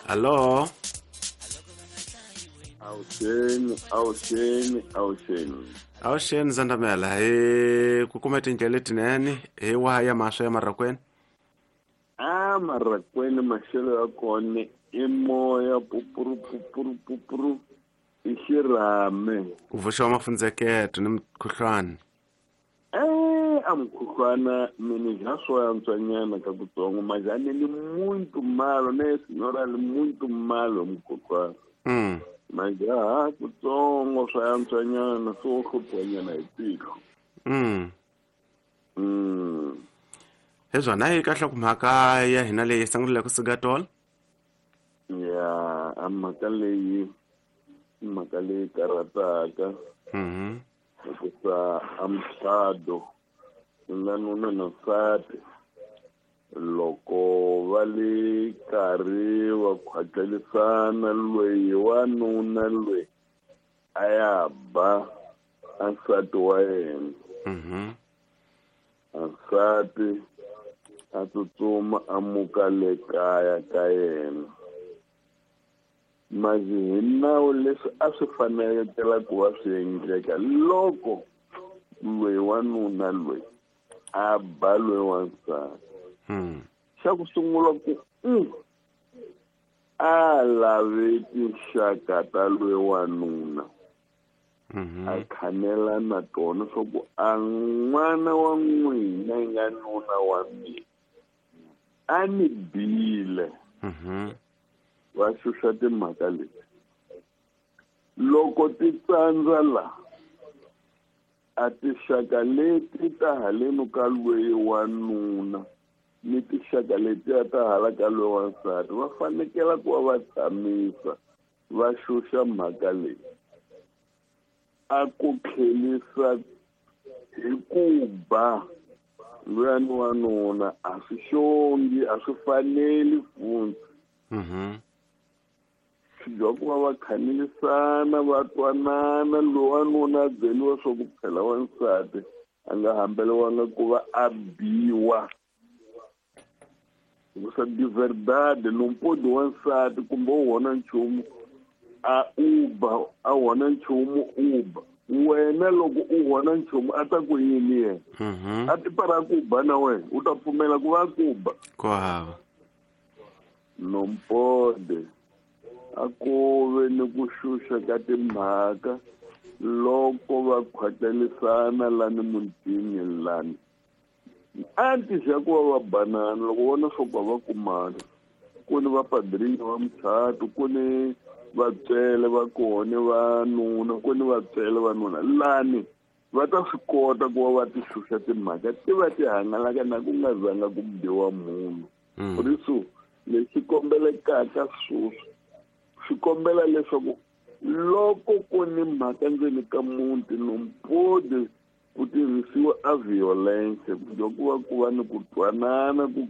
Hallo. Awuxeni, awuxeni, awuxeni. Awuxeni Zandamela, hi ku kuma tindlela letinene hi waha ya maswa ya Marrakwena? A Marrakwena maxelo ya kona i moya pupuru pupuru pupuru i xirhame. Ku vuxiwa mafundzeketo ni mukhuhlwana. A mukhuhlwana mina ja swo antswanyana ka kutsongo majani ni muito malo ne senhora li muito malo mukhuhlwana. Majaha kutsongo swa antswanyana swo hluphiwanyana hi tihlo. Hi swona hi kahle ku mhaka ya hina leyi sungulile kusuka tolo. Ya, a mhaka leyi mhaka leyi karhataka. Hikuva a mucato nga nuna na nsati loko va le karhi va khwatlelisana loyi wanuna loyi a ya ba a nsati wa yena. A nsati a tsutsuma a muka le kaya ka yena. Mazi hi nawu leswi a swi fanelekela ku va swi endleka loko loyi wanuna loyi a ba loyi wansati. Xa ku sungula ku a lave tinxaka ta loyi wanuna. A khanela na tona swa ku a n'wana wa n'wina yi nga nuna wa mina a ni bile. Va xuxa timhaka leti. Loko ti tsandza la a tinxaka leti ta haleni ka loyi wanuna ni tinxaka letiya ta hala ka loyi wansati va fanekela ku va va tshamisa va xuxa mhaka leyi. A ku tlhelisa hi ku ba luyani wanuna a swi xongi, a swi faneli futhi. Swi dya ku va va khanelisana va twanana loyi wanuna a byeriwa swa ku phela wansati a nga hambeliwanga ku va a biwa. Hikusa de verdade não pode wansati kumbe u hona nchumu a uba a hona nchumu uba wena loko u hona nchumu a ta ku yini yena? A ti para ku ba na wena u ta pfumela ku va ku ba. Ku hava. Não pode a ku ve ni ku xuxa ka timhaka loko va khwatlelisana lani mutini lani. Antes ya ku va va banana loko vona swo ku va kumana ku ni vapadrini va muchato ku ni vatswele va kona va nuna ku ni vatswele va nuna lani va ta swi kota ku va va ti xuxa timhaka ti va ti hangalaka na ku nga zanga ku biwa munhu. Por isso lexi kombelekaka sweswi swi kombela leswaku loko ku ni mhaka ndzeni ka muti no pode ku tirhisiwa a violence ku dya ku va ku va ni ku twanana ku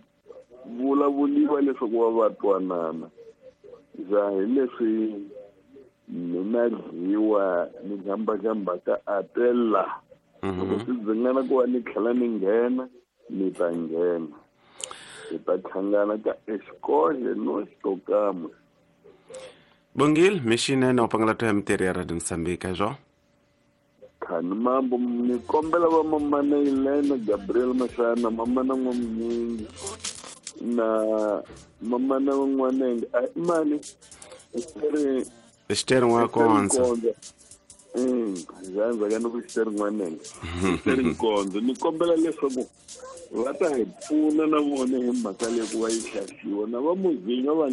vulavuliwa leswaku va va twanana. Ja hi leswi mina dyiwa ni jambajambaka a tela. Loko swi dzingana ku va ni tlhela ni nghena ni ta nghena. Hi ta hlangana ka escole no xitokamo. Bongile mixinene u pangela to ya mitirho ya Radio Mozambique zwo. Khani mambo ni kombela va mamana Elena Gabriel Mashana mamana n'wamunyingi na mamana n'wanenge a mani Esther N'wakonza. Zanza ka ni ku Esther N'wanenge. Esther Nkonzo ni kombela leswaku va ta hi pfuna na vona hi mhaka leyi ku va yi hlaxiwa na va muzinga va